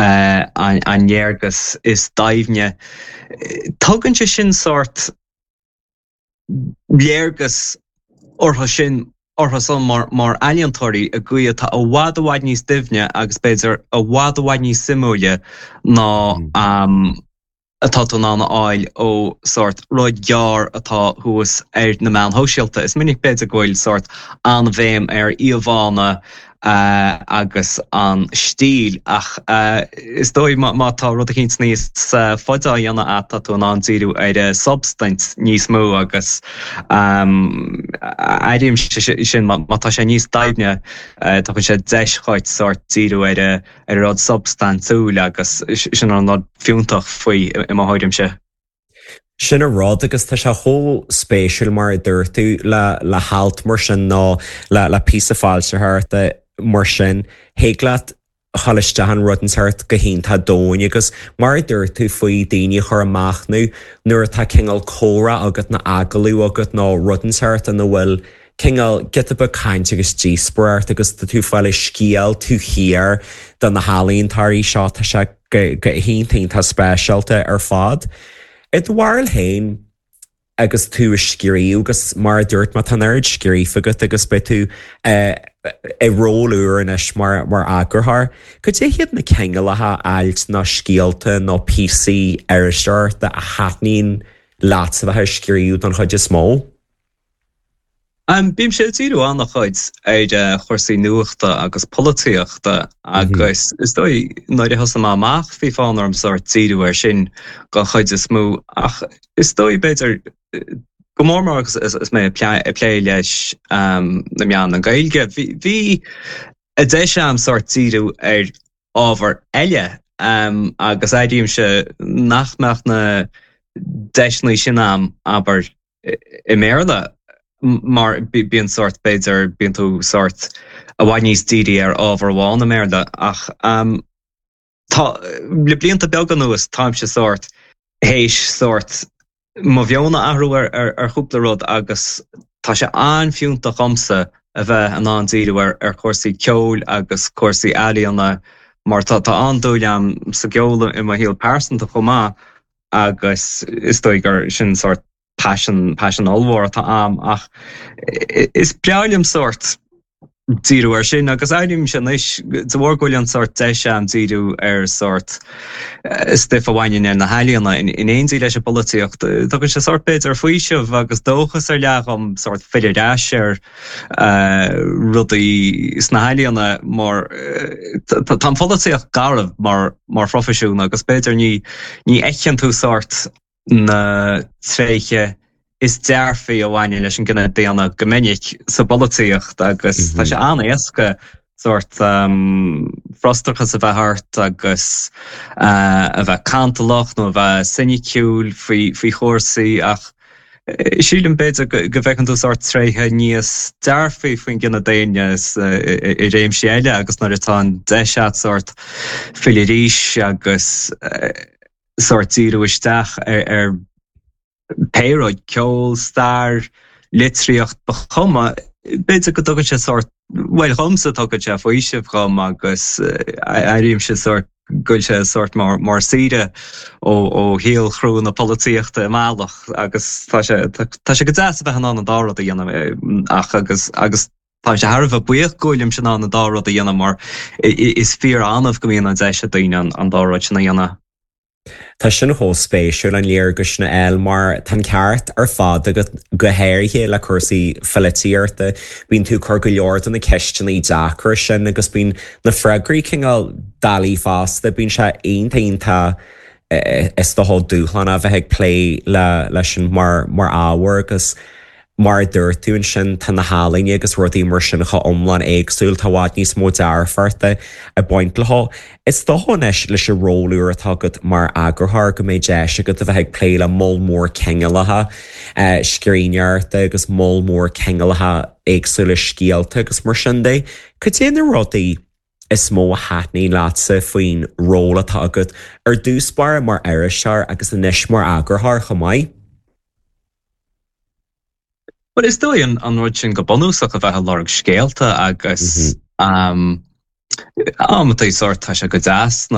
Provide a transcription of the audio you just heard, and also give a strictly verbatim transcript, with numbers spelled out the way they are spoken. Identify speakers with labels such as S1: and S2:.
S1: an léargas is doimhne. Tugann sé sin sórt léargas orthu sin orthu san mar mar ealaíontóirí i gcaoi atá i bhfad i bhfad níos doimhne agus b'fhéidir i bhfad i bhfad níos suimiúla ná atá tú in ann a fháil ó sórt rud gearr atá thuas ar na meáin shóisialta. Is minic b'fhéidir go bhfuil sórt an-bhéim ar íomhánna agus an stíl ach is dóigh má tá rud eicínt níos faide á dhéanamh agat tá tú in ann díriú ar substaint níos mó agus airím sin má tá sé níos doimhne tugann sé deis dhuit sórt díriú ar ar rud substaintiúil agus sin an rud fiúntach faoi i mo thuairimse.
S2: Sin an rud agus tá sé chomh spéisiúil mar a dúirt tú le le halt mar sin nó le le píosa foilsitheoireachta mar sin thig leat dhul isteach in rud inteacht go hiontach domhain agus mar a dúirt tú faoi daoine a chur ag machnamh nuair atá cineál comhrá agat nó agallamh agat nó rud inteacht ina bhfuil cineál giota beag caint agus díospóireacht agus tá tú fáil scéal taobh thiar de na healaíontóirí seo tá sé go go hiontach iontach speisialta ar fad. I do bharúil féin agus tú ag scríobh agus mar a dúirt mé tá an oiread scríofa agat agus beidh tú i ról úr anois mar mar eagarthóir. Cad é hiad na cineálacha ailt nó scéalta nó píosaí iriseoireachta a thaitníonn leat a bheith ag scríobh don chuid is mó?
S1: Bímse ag díriú an-chuid ar chúrsaí nuachta agus polaitíochta agus is dóigh nuair a thosaigh mé amach bhí fonn orm sórt díriú air sin den chuid is mó ach is dóigh b'fhéidir go mór mór agus is mé ag plé leis na meáin na Gaeilge bhí an deis agam sórt díriú ar ábhar eile agus airímse nach mbeadh na deiseanna sin agam abair i mBéarla mar bíonn sórt b'fhéidir bíonn tú sórt i bhfad níos dírithe ar ábhar amháin i mBéarla ach tá le blianta beaga anuas táimse sórt théis sórt mo mheon a athrú ar ar ar chúpla rud agus tá sé an-fhiúntach dhomsa a bheith in ann díriú ar ar chúrsaí ceoil agus cúrsaí ealaíona mar tá tá an-dúil agam sa gceol i mo shaol pearsanta chomh maith agus is dóigh gur sin sórt paisean paisean ollmhór atá agam ach is breá liom sórt díriú air sin agus airímse anois de bharr go bhfuil an sórt deis agam díriú ar sórt stuif a bhaineann ar na healaíona in éindí leis an bpolaitíocht tugann sé sórt b'fhéidir faoiseamh agus dóchas ar leith dhom sórt filleadh ar ais ar rudaí sna healaíona mar tá an pholaitíocht garbh mar mar phroifisiún agus b'fhéidir ní ní fheiceann tú sórt na tréithe is dearfaí a bhaineann leis an gcine daonna go minic sa bpolaitíocht agus tá sé an-éasca sórt frustrachas a bheith ort agus a bheith cantalach nó a bheith soiniciúil faoi faoi chúrsaí ach sílim b'fhéidir go bhfeiceann tú sórt tréithe níos dearfaí faoin gcine daonna i réimsí eile agus nuair atá an deis agat sórt filleadh arís agus sórt díriú isteach ar ar pé rud, ceol, stair, litríocht, ba chuma, b'fhéidir go dtugann sé sórt, bhuel dhomsa tugann sé faoiseamh dhom agus airímse sórt go bhfuil sé sórt mar mar saoire ó ó shaol chrua na polaitíochta i mbealach agus tá sé tá sé go deas a bheith in ann an dá rud a dhéanamh ach agus agus táimse thar a bheith buíoch go bhfuilimse in ann an dá rud a dhéanamh mar is fíor annamh go mbíonn an deis ag daoine an dá rud sin a dhéanamh.
S2: Tá sin chomh spéisiúil an léargas sin a fháil mar tá an ceart ar fad agat go háirithe le cúrsaí polaitíochta. Bíonn tú ag cur go leor de na ceisteanna deacra sin agus bíonn na freagraí cineál doiligh fosta. Bíonn sé iontach iontach is dócha dúshlánach a bheith ag plé le leis sin mar mar ábhar agus Mar a dúirt tú ansin, tá na healaíona agus rudaí mar sin chomh iomlán éagsúil, tá i bhfad níos mó dearfachta ag baint leo. Is dócha anois leis an ról úr atá agat mar eagarthóir go mbeidh deis agat a bheith ag plé le moll mór cineálacha scríbhneoireachta agus moll mór cineálacha éagsúla scéalta agus mar sin de. Cad é na rudaí is mó a thaitníonn leatsa faoin ról atá agat ar dtús báire mar iriseoir agus anois mar eagarthóir chomh maith?
S1: Bhuel is dóigh an an rud sin go bunúsach a bheith ag lorg scéalta agus amantaí sórt tá sé go deas